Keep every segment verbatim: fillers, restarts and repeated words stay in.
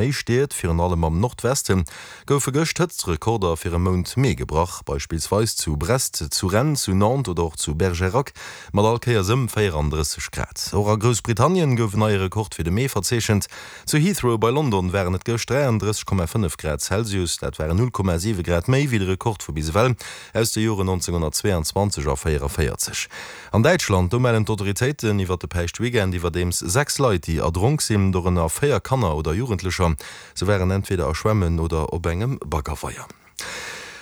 méi Stied, virun allem am Nordweste goufe gëscht Hëtztrekorder fir e Mount Mee gebrach, beispillsweis zu Brest, zu Rennes, zu Nantes oder och zu Bergerac mat all Kéiers ëm véierandrësseg Grad. Och a Groussbritannien gouf en neie Rekord fir de Mee verzeechent. Zu Heathrow bei London waren et gëscht dräiandrësseg Komma fënnef Grad Celsius, dat waren null Komma siwe Grad méi wéi de Rekord vu bis ewell aus de Joren nonzénghonnertzweeanzwanzeg a véieraféierzeg. An Däitschland, do mellen d'Autoritéiten iwwer de Päischtweekend iwwerdeems sechs Leit, déi erdronk sinn, dorënner véier Kanner oder Jugendlecher. Se waren entweder a Schwämmen oder op engem Baggerweier.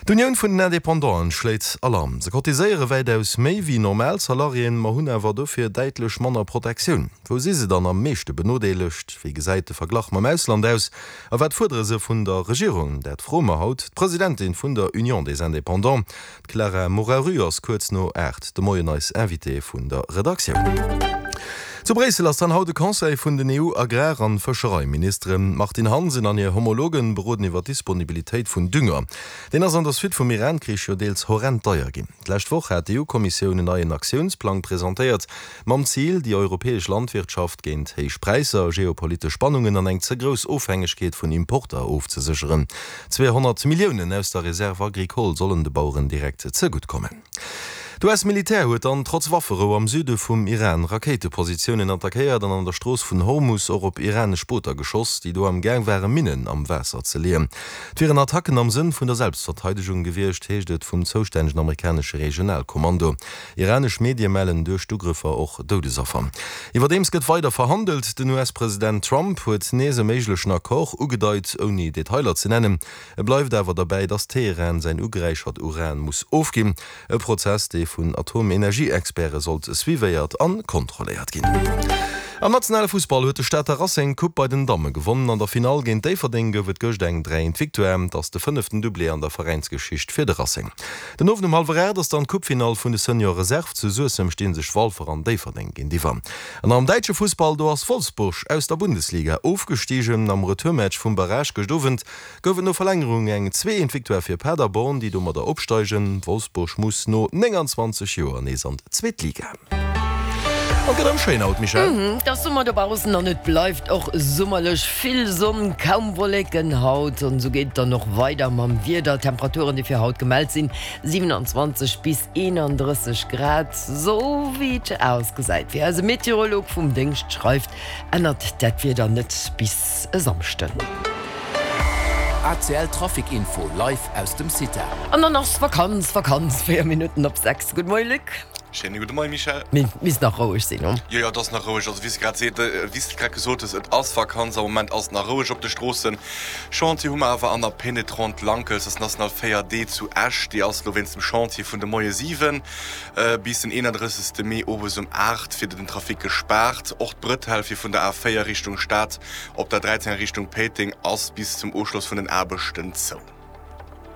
D'Unioun vun den Independanten schléit Alarm. Se cotiséiere wäitaus méi wéi normal Salariéen, ma hunn awer dofir däitlech manner Protektioun. Wou si se dann am meeschte benodeelegt? Wéi gesäit de Verglach mam Ausland aus? A wat fuerdere se vun der Regierung? Dat froe mer haut d'Presidentin vun der Union des Indépendants. D'Clara Moraru ass kuerz no aacht de Moien eis Invitée vun der Redaktioun. Zu Bréissel ass dann haut de Conseil vun den E U-Agrar an Fëschereiministeren. D'Martine Hansen an hir Homologen beroden iwwer d'Disponibilitéit vun Dünger. Deen ass an der Suite vum Iran-Krich jo deels horrend deier ginn. D'lescht Woch hat d'E U-Kommissioun en neien Aktiounsplang presentéiert, mam Zil, déi europäesch Landwirtschaft géint héich Präisser, geopolitesch Spannungen an eng ze grouss Ofhängegkeet vun Importer ofzesécheren. Zweehonnert Milliounen aus der Réserve agricole sollen de Baueren direkt zegutt kommen. D' U S-Militär huet dann trotz Wafferou am Süde vum Iran Rakéitepositiounen attackéiert an an der Strooss vun Hormus och op iranesch Booter geschoss, déi do am Gaang ware Minnen am Waasser ze leeën. Et wieren Attacken am Sënn vun der Selbstverteidegung gewiescht, heescht et vum zoustännegen amerikanesche Regionalkommando. Iranesch Medie mellen duerch d'Ugrëffer och Doudesaffer. Iwwerdeems gëtt weider verhandelt. Den U S-President Trump huet nees e méiglechen Accord ugedeit, ouni Detailer ze nennen. E bleift awer derbäi, datt Teheran säin ugeräichert Uran muss ofginn. E Prozess, dee vun Atomenergieexperte sollt suivéiert a kontrolléiert ginn. Am nationale Fussball huet de Stater Racing d'Coupe bei den Damme gewonnen. An der Finall géint Déifferdeng gouf et gëscht eng dräi eent Victoire. Et ass de fënneften Doublé an der Veräinsgeschicht fir de Racing. Den Owend um hallwer aacht ass dann d'Coupefinall vun de Senior Reserve. Zu Suessem sti sech Walfer an Déifferdeng géintiwwer. An am däitsche Fussball, do ass Wolfsburg aus der Bundesliga ofgestigen. Am Retourmatch vum Barrage gëscht Owend gouf et no Verlängerung eng zwee eent Victoire fir Paderborn, déi domadder opsteigen. Wolfsburg muss no nénganzwanzeg Joer nees an d'zweet Liga. An et gëtt erëm schéin haut, Michèle. Et ass Summer dobaussen an et bleift och summerlech. Vill Sonn, kaum Wolleken haut an esou geet et dann och weider mam Wieder. Temperaturen, déi fir haut gemellt sinn, siewenundzwanzeg bis eenandrësseg Grad. Sou wéi et ausgesäit, wéi eise Meteorolog vum Déngscht schreift, ännert dat Wieder net bis e Samschden. A C L Trafic Info live aus dem Cita. An dann ass Vakanz, Vakanz, véier Minutten op sechs. Gudde Moie Luc. Schéine gudde Moie Michèle. Mee misst nach roueg sinn, no? Jo, jo, et ass nach roueg. Also wéi s de grad seet, wéi s de grad gesot hues, et ass Vakanz. Am Moment ass et nach roueg op de Stroossen. Chantier hu mer awer an der Pénétrante Lankels, dat ass National véier D zu Esch. Déi ass elo wéinst dem Chantier vun de Moie siwen bis den eenandrëssegste Mee owes um aacht fir den Trafic gespaart. Och d'Brëtell fir vun der A véier Richtung Stad op der dräizéng a Richtung Péiteng ass bis zum Ofschloss vun den Aarbechten zou.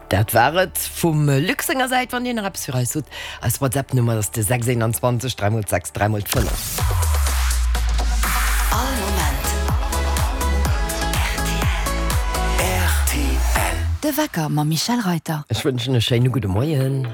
Dat war et vum Luc senger Säit. Wann Dir nach eppes fir eis hutt, eis WhatsApp-Nummer ass de sechs eenanzwanzeg dräi mol sechs dräi mol fënnef. All Moment R T L. De Wecker mam Michèle Reyter. Ech wënschen e schéine gudde Moien.